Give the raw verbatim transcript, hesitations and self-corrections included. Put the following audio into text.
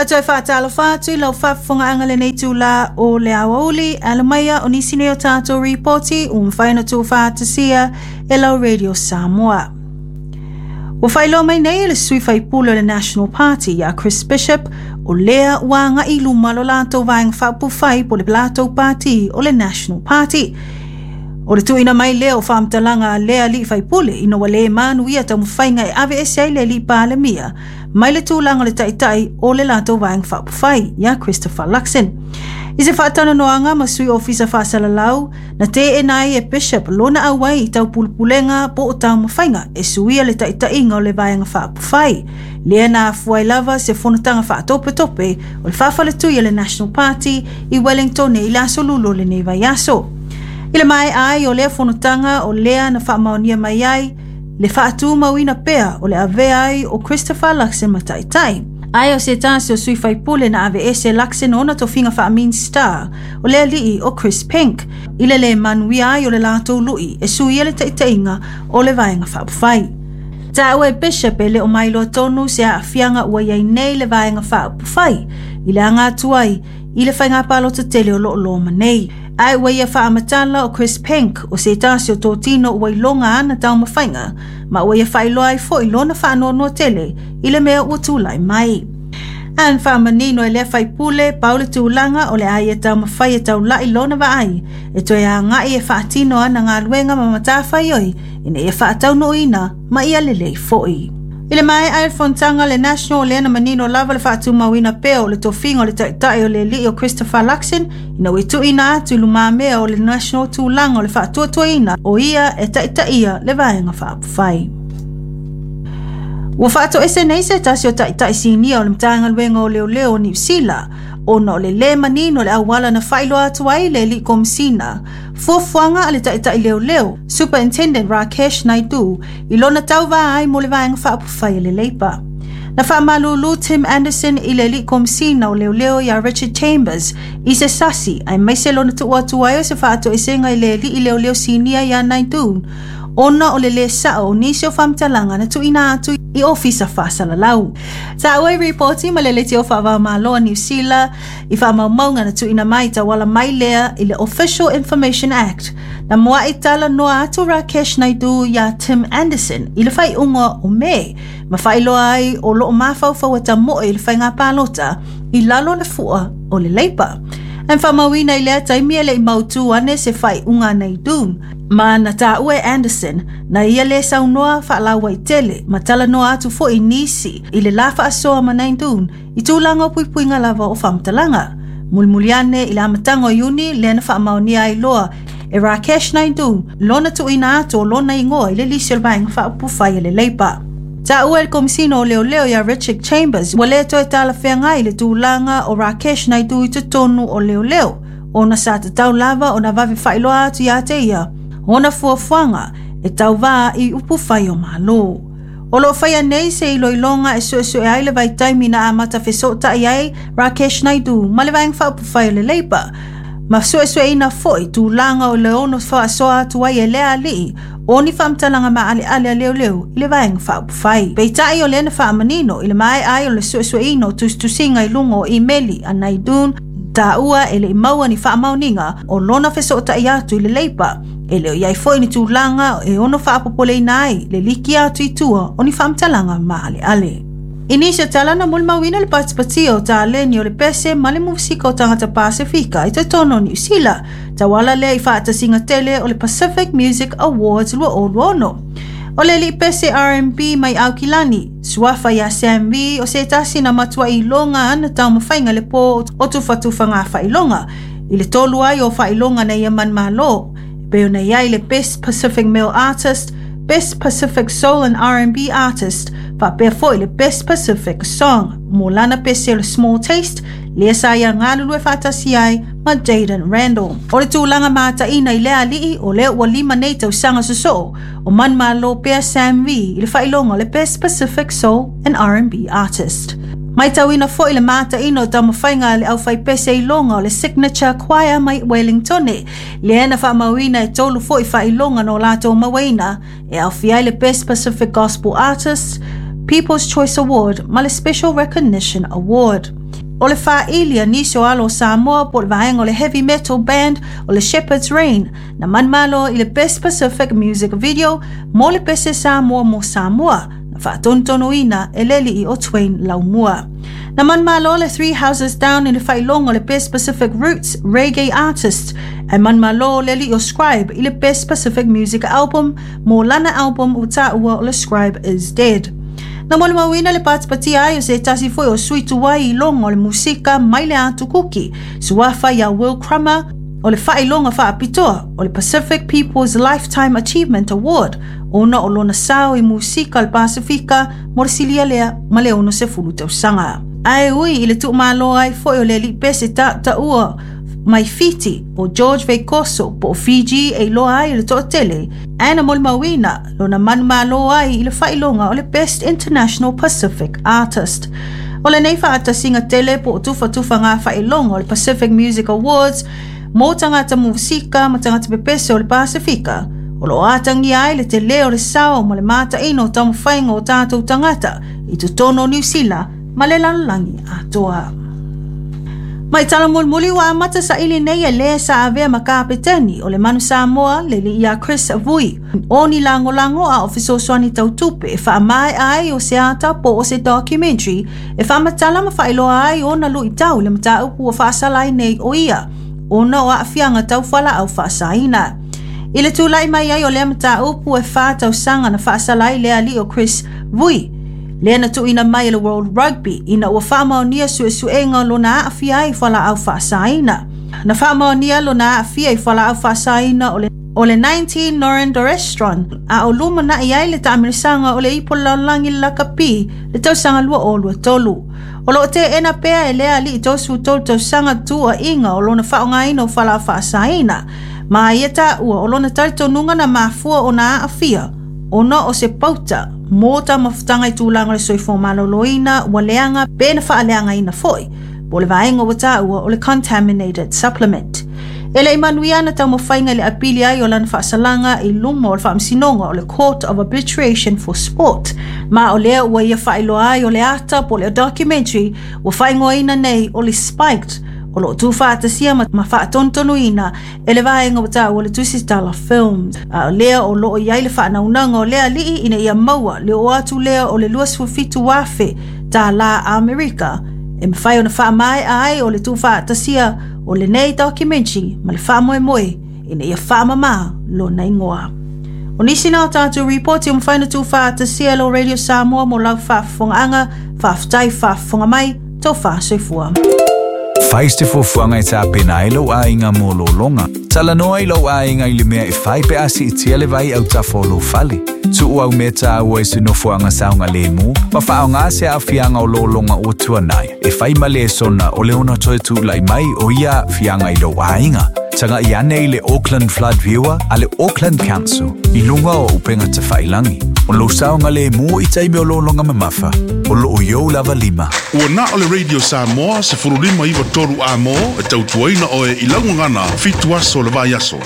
E toe faatalofa atu i lau faafofogaaga lenei itulā o le aoauli alamaia o nisi nei o tatou ripoti ua mafai ona tuufaatasia e lau Radio Samoa. Ua faailoa mai nei e le sui faipule o le National Party ia Chris Bishop o lea ua agai i luma lo latou vaega faaupufai po le latou pati o le National Party. O le tuuina mai lea o faamatalaga a lea alii faipule ina ua le manuia taumafaiga e aveese ai le alii palemia mai le tulaga o le taitai o le latou vaega faaupufai ia Christopher Luxon. I se faatalanoaga ma sui ofisa faasalalau, na teena ai e Bishop lona auai i taupulepulega po o taumafaiga e suia le taitaiga o le vaega faaupufai. Lea na afua ai lava se fonotaga faatopetope o le faafaletui a le National Party i Wellington i le aso Lulu o lenei vaiaso. I le maea ai o lea fonotaga o lea na faamaonia mai ai le faatumauina pea o le avea ai o Christopher Luxon ma taitai. Ae o se tasi o sui faipule na aveese Luxon ona tofiga faa-Minista o le alii o Chris Penk i le le manuia ai o le latou lui e suia le taitaiga o le vaega faaupufai. Taua e Bishop e le o mailoa tonu se aafiaga ua iai nei le vaega faaupufai i le aga atu ai i le faiga palota tele o loo loma nei. Ae ua ia faamatala o Chris Penk o se tasi o totino ua iloga ana taumafaiga ma ua ia faailoa ai foi lona faanoanoa tele i le mea ua tulai mai. Ae faamanino e lea faipule pau le tulaga o le a ia taumafai e taulai lona vaai e toe agai e faatino ana galuega ma matafaioi ina ia faataunuuina ma ia lelei foi. I le maea ai le fonotaga le National lea na manino lava le faatumauina pea o le tofiga o le taitai o le alii o Christopher Luxon ina ua tuuina atu i lumamea o le National tulaga o le faatuatuaina o ia e taitaia le vaega faaupufai. Ua faatoese nei se tasi o taitai sinia o le Matagaluega o Leoleo o Niu Sila ona o le lē manino le auala na faailoa atu ai le alii komisina fuafuaga a le taitai leoleo Superintendent Rakesh Naidu i lona tauvā ai mo le vaega faaupufai a le Leipa. Na faamalulu Tim Anderson i le alii komisina o leoleo ia Richard Chambers i se sasi aemaise lona tuu atu ai o se faatoesega i le alii leoleo sinia ia Naidu ona o le lē sao o nisi o faamatalaga na tuuina atu i ofisa faasalalau. Taua i ripoti ma le leitio faava-o-Malo a Niu Sila i faamaumauga na tuuina mai tauala mai lea i le Official Information Act. Na muai talanoa atu Rakesh Naidu ia Tim Anderson i le faaiuga o Me ma faailoa ai o loo mafaufau e tamoe i le faiga palota i lalo o le fua o le Leipa. Ae faamauina i lea taimi e le i mautū ane se faaiuga a Naidu ma na taua e Anderson na ia lē saunoa faalauaitele ma talanoa atu foi nisi i le la faasoa ma Naidu i tulaga o puipuiga lava o faamatalaga. Mulimuli ane i le amataga o Iuni lea na faamaonia ai loa e Rakesh Naidu lona tuuina atu o lona igoa i le lisi o le vaega faaupufai a le Leipa. Taua e le komisina o leoleo ia Richard Chambers ua lē toe talafeagai le tulaga o Rakesh Naidu i totonu o leoleo ona sa tatau lava ona vave faailoa atu ia te ia ona fuafuaga e tauvā i upufai o Malo. O loo faia nei se iloiloga e suesue ai le vaitaimi na amata fesootai ai Rakesh Naidu ma le vaega faaupufai o le Leipa ma suesueina foi tulaga o le ono faasoa atu ai e lea alii o ni faamatalaga maaleale a leoleo i le vaega faaupufai. Peitai o lea na faamanino i le maea ai o le suesueina o tusitusiga i luga o imeli a Naidu taua e le i maua ni faamaoniga o lona fesootai atu i le Leipa e le o iai foi ni tulaga e ono faapopoleina ai le liki atu i tua o ni faamatalaga maaleale. I nisi o tala na molimauina le patipatia o taleni o le pese ma le musika o tagata Pasifika i totonu o Niu Sila, tauala lea i faatasiga tele o le Pacific Music Awards twenty twenty-six. O le alii pese R and B mai Aukilani, suafa ia Sam V o se tasi na matuai iloga ana taumafaiga le pō o tufatufaga faailoga, i le tolu ai o faailoga na ia manumalo, e pei ona i ai le Best Pacific Male Artist, Best Pacific Soul and R and B Artist, faapea foi le Best Pacific Song, mo lana pese o le Small Taste, lea sa ia galulue faatasi ai ma Jaden Randall. O le tulaga mataina i lea alii o lea ua lima nei tausaga sosoo o manumalo pea Sam V i le faailoga o le Best Pacific Soul and R and B Artist. Maitauina foi le mataina o taumafaiga a le aufaipese iloga o le Signature Choir mai Wellington, lea na faamauina e tolu foi faailoga no latou mauaina e aofia ai le Best Pacific Gospel Artist, People's Choice Award ma le Special Recognition Award. O le faaili a nisi o alo o Samoa po o le vaega o le heavy metal band o le Shepherd's Rain na manumalo i le Best Pacific Music Video mo le pese Samoa mo Samoa na faatonutonuina e le alii o Twain Laumua. Na manumalo le Three Houses Down i le faailoga o le Best Pacific Roots Reggae Artist ae manumalo le alii o Scribe i le Best Pacific Music Album mo lana album ua taua o le Scribe is Dead. Na molimauina le patipatia ai o se tasi foi o sui tuai i loga o le musika mai le Atu Kuki, suafa ia Will Crummer, o le faailoga faapitoa o le Pacific People's Lifetime Achievement Award, ona o lona sao i musika o le Pasifika mo le silia lea ma le ono sefulu tausaga. Ae ui i le tuumalo ai foi o le alii pese tautaua mai Fiti o George Veikoso po o Fiji e iloa ai i le toatele, ae na molimauina lona manumalo ai i le faailoga o le Best International Pacific Artist. O lenei faatasiga tele po o tufatufaga faailoga o le Pacific Music Awards mo tagata musika ma tagata pepese o le Pasifika, o loo atagia ai le telē o le sao ma le mataina o taumafaiga o tatou tagata i totonu o Niusila ma le lalolagi atoa. Mai tala mulimuli ua amata saili nei e lē sa avea ma kapeteni o le Manu Samoa le alii ia Chris Vui o ni lagolago a o fesoasoani tautupe e faamaea ai o se ata po o se documentary e faamatala ma faailoa ai ona luitau i le mataupu ua faasala ai nei o ia ona o aafiaga tau fualaau faasaina. I le tulai mai ai o lea mataupu e fa tausaga na faasala ai le alii o Chris Vui, lea na tuuina mai e le World Rugby ina ua faamaonia suesuega lona aafia ai i fualaau faasaina. Na faamaonia lona aafia i fualaau faasaina o le o le nineteen norandrosterone a o lumanai ai le taamilosaga o le ipu o le lalolagi le lakapi le tausaga lua o lua tolu. O loo teena pea e lea alii tolusefulu tolu tausaga tuuaiga o lona faaaogaina o fualaau faasaina. Ma ia taua o lona talitonuga na mafua ona aafia ona o se pauta mo taumafataga i tulaga o le soifua maloloina ua leaga pe na faaleagaina foi po o le vaega ua taua o le contaminated supplement. E le i manuia ana taumafaiga i le apili ai o lana faasalaga i luma o le faamasinoga o le Court of Arbitration for Sport, ma o lea ua ia faailoa ai o le ata po o le documentary ua faaigoaina nei o le Spiked, o loo tuufaatasia ma faatonutonuina e le vaega ua taua o le Tusitala Films. A o lea o loo i ai le faanaunaga o lea alii ina ia maua le oo atu lea o le luasefulu fitu afe tālā Amerika e mafai ona faamaea ai o le tuufaatasia o lenei documentary ma le faamoemoe ina ia faamamā lona igoa. O nisi na o tatou ripoti o mafai ona tuufaatasia e lo Radio Samoa mo lau faafofogaaga, faafetai faafofoga mai, tofa soifua. Fai se fuafuaga e tapena ai lou aiga mo lologa. Talanoa i lou aiga i le mea e fai pe a siitia le vai autafa o lou fale. Tuu au mea taua i se nofoaga saogalemu ma faaaoga se aafiaga o lologa ua tuanai e fai ma lesona o le ono toe tulai mai o ia aafiaga i lou aiga. Tagai ane i le Auckland Flood Viewer a le Auckland Council i luga o upega tafailagi. O lou saogalemu i taimi o lologa mamafa. O loo i ou lava lima. Ua na o le Radio Samoa se fulu lima iwa tolu a mo e tautuaina oe i laugagana fitu aso le vai aso.